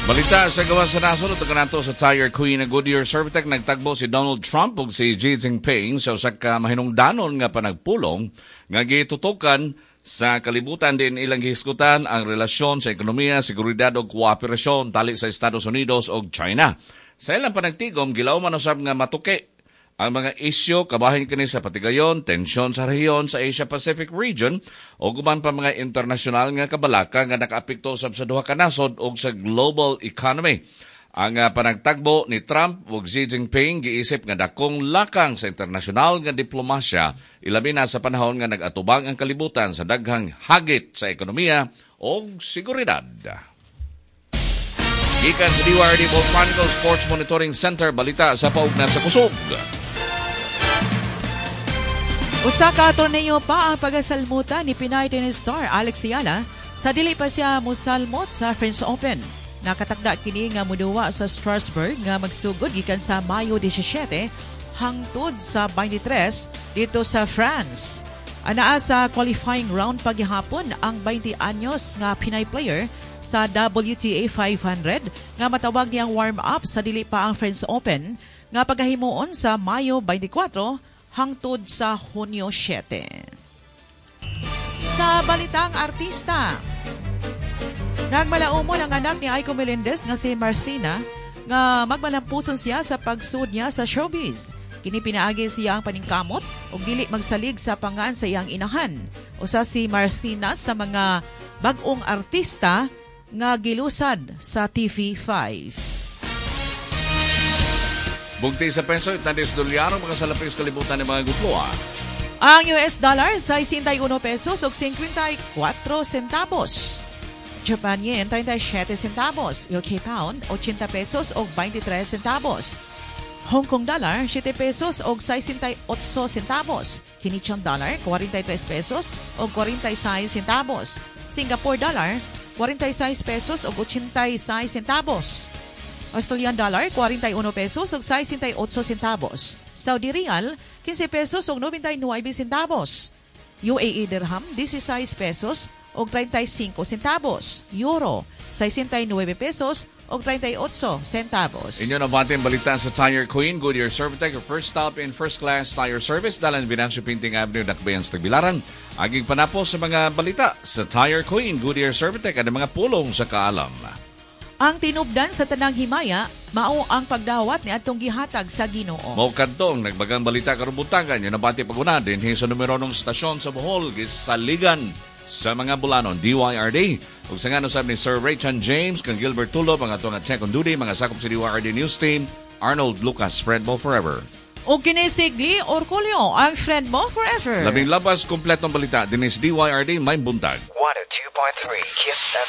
Balita sa gawas sa nasod ug nato sa Tire Queen na Goodyear Servitech. Nagtagbo si Donald Trump ug si Xi Jinping sa usa ka mahinungdanon nga panagpulong nga gitutukan sa kalibutan din ilang gihisgutan ang relasyon sa ekonomiya, seguridad ug kooperasyon tali sa Estados Unidos ug China. Sa ilang panagtigom, gilawman usab nga matuki ang mga isyu kabahin kini sa patigayon, tensyon sa rehiyon sa Asia-Pacific region o uban pa mga internasyonal nga kabalaka nga nakaapekto usab sa duha ka nasod ug sa global economy. Ang panagtagbo ni Trump ug Xi Jinping giisip nga dakong lakang sa internasyonal nga diplomasya, ilabi na sa panahon nga nag-atubang ang kalibutan sa daghang hagit sa ekonomiya ug seguridad. Gikan sa DYRD Volcanical Sports Monitoring Center, balita sa paugnat sa kusog. Usa ka torneo pa ang pagasalmutan ni Pinay tennis star Alex Eala sa dili pa siya musalmot sa French Open. Nakatakda kini nga muduwa sa Strasbourg nga magsugod gikan sa Mayo 17 hangtod sa 23 dito sa France. Anaa sa qualifying round pagihapon ang 20 anyos nga Pinay player sa WTA 500 nga matawag niyang warm-up sa dili pa ang French Open nga pagahimuon sa Mayo 24 hangtod sa Hunyo 7. Sa balitang artista, nagmalaumon ang anak ni Aiko Melendez nga si Marthina nga magmalampuson siya sa pagsud niya sa showbiz. Kini pinaagi siya ang paningkamot ug dili magsalig sa pangan sa iyang inahan. Usa si Marthina sa mga bag-ong artista nga gilusad sa TV5. Bugti sa penso, itandis dolyaro, mga salapis kalibutan ng mga gutloa. Ang US dollar 61 pesos ug 54 centavos. Japan yen 37 centavos. UK pound 80 pesos ug 23 centavos. Hong Kong dollar 7 pesos ug 68 centavos. Canadian dollar 43 pesos ug 46 centavos. Singapore dollar 46 pesos ug 86 centavos. Australian dollar 41 pesos ug 68 centavos. Saudi rial 15 pesos ug 99 centavos. UAE dirham 16 pesos ug 35 centavos. Euro 69 pesos ug 38 centavos. Inyo na bating balita sa Tire Queen, Goodyear Servitech, your first stop in first class tire service, dalan Venancio Painting Avenue, Dakbayan sa Tagbilaran. Aging panapo sa mga balita sa Tire Queen, Goodyear Servitech, at mga pulong sa kaalam. Ang tinubdan sa tanang himaya, mao ang pagdawat ni atong gihatag sa Ginoo. Mao kadtong nagbagang balita karong buntagan, yun nabati paguna din sa numero ng stasyon sa Bohol, gisaligan sa mga Bulanon, DYRD. Ug sa ngano sab ni Sir Raychan James, kang Gilbert Tulo, mga atong check on duty, mga sakop sa DYRD News Team, Arnold Lucas, friend mo forever. O kini si Glee Orcolio, ang friend mo forever. Labing labas, kompletong balita, dinis DYRD, may buntag. 102.3 Kiss FM.